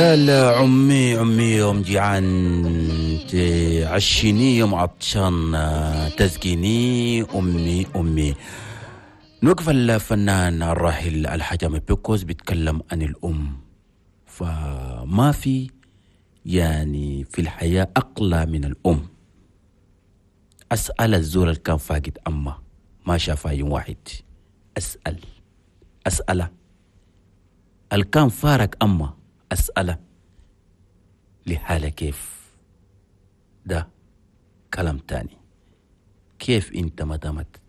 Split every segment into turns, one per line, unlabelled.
قال عمي عمي يوم جيعان تعشيني، يوم عطشان تسقيني، أمي أمي. نوقف الفنان الراحل الحاج بيكوز بيتكلم عن الأم. فما في يعني في الحياة أقلى من الأم. أسأل الزول اللي كان فاقد أمه ما شافها يوم واحد، أسأل أسأله اللي كان فارق أمه، أسأله لحالة كيف. ده كلام تاني. كيف انت ما دامت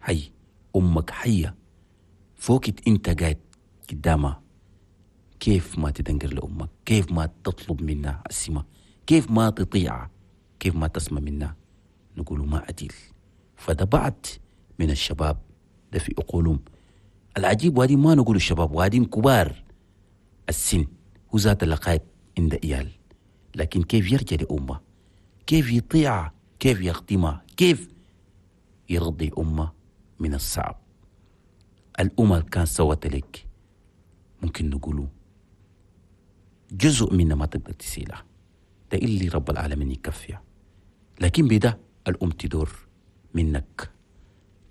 حي امك حية فوقت انت قاعد قدامها، كيف ما تدنقر لامك؟ كيف ما تطلب منها السمة؟ كيف ما تطيعها؟ كيف ما تسمع منها؟ نقول ما عديل. فده بعض من الشباب ده في عقولهم العجيب. وادي ما نقول الشباب، وادين كبار السن هو ذات اللقاء عند إيال، لكن كيف يرجع لأمه؟ كيف يطيعها؟ كيف يخدمها؟ كيف يرضي أمه؟ من الصعب. الأمة كان سوت لك ممكن نقوله جزء منها ما تقدر تسيلها، ده اللي رب العالمين يكفيها. لكن بدا الأم تدور منك،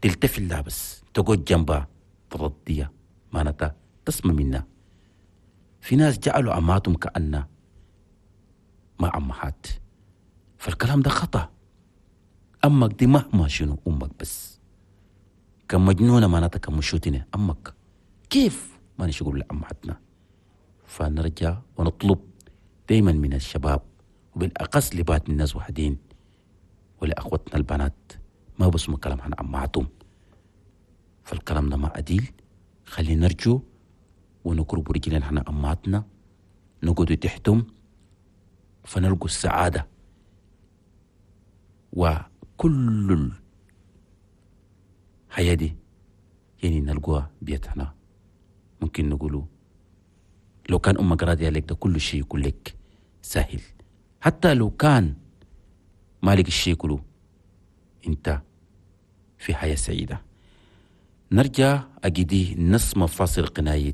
تلتفت لها بس، تقعد جنبها، ترضيها، معناتها تسمع منها. في ناس جعلوا أمهاتهم كأنها ما أمهات، فالكلام ده خطأ. أمك دي مهما شنو أمك، بس كان مجنونة معناتها كان مشوتنة أمك، كيف ما نشقول لأمهاتنا؟ فنرجع ونطلب دايما من الشباب وبالأقص لبات من الناس وحدين ولأخوتنا البنات ما بسمع كلام عن أمهاتهم، فالكلام ده ما عديل. خلينا نرجو ونقرب رجلنا احنا أمهاتنا، نقعد تحتهم فنلقوا السعادة. وكل الحياة دي يعني نلقوها بيتنا. ممكن نقولوا لو كان أمك راضية عليك ده كل شيء يكون لك سهل، حتى لو كان مالك الشيء كله انت في حياة سعيدة. نرجع أجدي نسمة فاصل قناية.